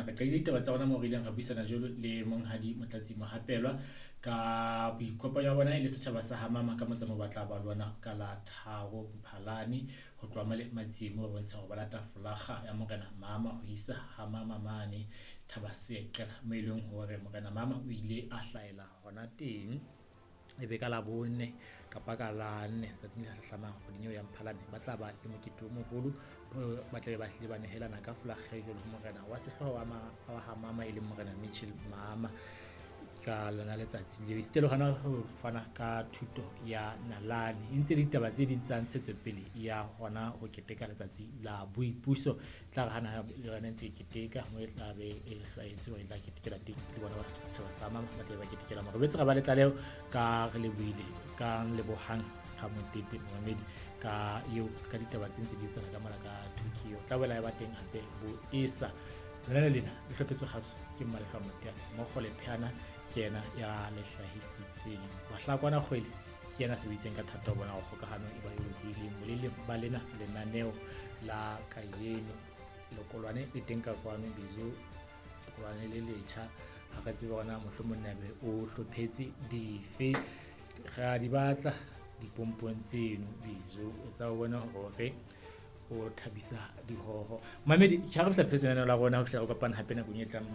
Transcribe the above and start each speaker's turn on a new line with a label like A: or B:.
A: Re qadile ditaba tsa rona moo re ileng ra buisana jwalo le Monghadi Motlatsi Mohapelwa ka boikopanyo ba bona e le setjhaba sa ha Mama ka motsamao ba tla ba lona ka la 3 Mphalane ho tloha male Matsieng moo ba bontsha hore ba lata folakga ya Morena Mama ho isa ha Mama mane Thabaseqela moo e leng hore Morena Mama o ile a hlahela hona teng. E be ka la 4 kapa ka la 4 tsatsing le hlahlamang kgweding eo ya Mphalane ba tla ba le mokete o moholo, ba tla be ba hlile ba nehelana ka folakga e jwalo ho morena wa sehlooho wa ha Mama e leng Morena Mitchell Mama ka lona letsatsi leo. Esita le hona ho fana ka thuto ya nalane e ntse le ditaba tse ding tsa ntshetsopele ya hona ho keteka letsatsi la boipuso. Tla re hana le yona ntse e keteka mo e tla be e hlwaetswe hore e tla ketekela teng le bona batho setjhaba sa Mama ba tla be ba ketekela mo. Re boetse ra ba le tlaleho ka re lebohile ka Lebohang Ramotete momamedi ka eo ka ditaba tse ntse di etsahala ka mona ka Tokyo. Tla boela ya ba teng hape bo esa. Lenane lena le hlophetswe kgaso ke Mmalehlwa Moteane, mmogo le Pheana ke yena ya le hlahisitseng. Mahlakwana Kgwele ke yena a sebeditseng ka thata ho bona hore kgokahano e ba e lokolohileng boleleng ba lena lenaneo la kajeno. Lekolwane le teng ka kwano, Bizo lekolwane le letjha, ha re tsebe hore na mohlomong na be o hlophetse dife. Re a di batla dipompong tseno Bizo, etsa o bone hore o thabisa dihoho. Mamedi, ke ha re fihla pheletsong ya lenaneo la rona ho fihla re kopana hape nakong e tlang.